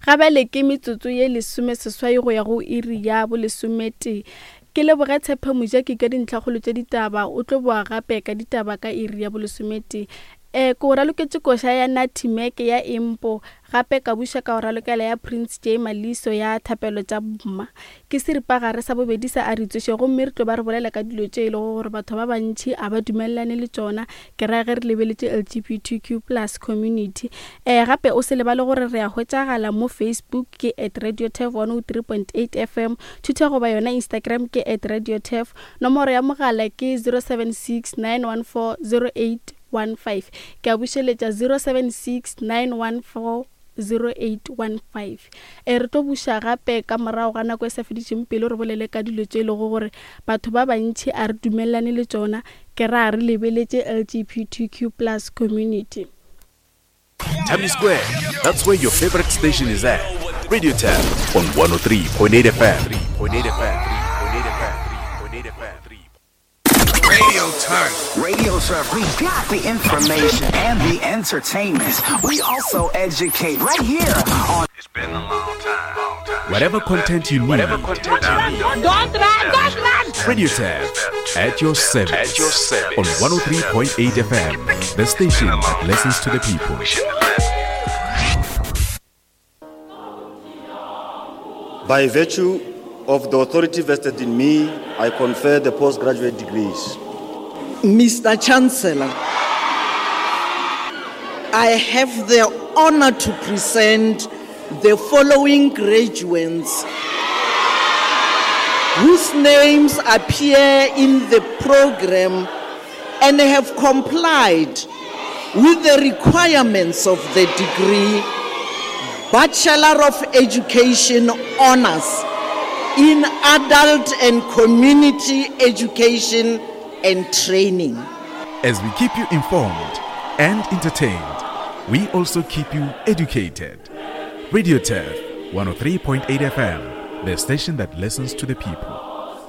Ga bjale ke metsotso ye lesomeseswai go ya go iri ya bolesometee. Ke leboge Tshepo Mojaki ka dintlhakgolo tša ditaba, o tlo boa gape ka ditaba ka iri ya bolesometee. E, ke o raloketše koša ya Natty Mac ya Impo, gape ka buša ka o ralokela ya Prince Jay Maliso ya Thapelo tša Mma. Ke seripagare sa bobedi sa A Re Tsoše gomme re tlo ba re bolela ka dilo tše e lego gore batho ba bantši a ba dumelelane le tšona, ke ra ge re lebeletše LGBTQ plus community. E, gape o se lebale gore re a hwetšagala mo Facebook ke at Radio Turf 103.8 FM, Twitter goba yona Instagram ke at Radio Turf, nomoro ya mogala ke 076 914 08 15. Ke a bušeletša 076 914 0815. E re tlo buša gape ka morago ga nako e sa fedišeng pelo re bolele ka dilo tše e lego gore batho ba bantši a re dumelelane le tšona, ke ra re lebeletše LGBTQ plus community. Tami Square, that's where your favorite station is at. Radio Tab on 103.8 FM. 3.8 FM. 3.8 FM. 3.8 FM. Radio Turf. Radio Turf. We got the information and the entertainment. We also educate right here on. It's been a long time. Long time. Whatever content you need. Whatever content you need. Don't run, don't run. Radio Turf at your service. At your service. On 103.8 FM, the station that listens to the people. By virtue of the authority vested in me, I confer the postgraduate degrees. Mr. Chancellor, I have the honor to present the following graduates whose names appear in the program and have complied with the requirements of the degree Bachelor of Education Honors in Adult and Community Education and Training. As we keep you informed and entertained, we also keep you educated. Radio Turf 103.8 FM, the station that listens to the people.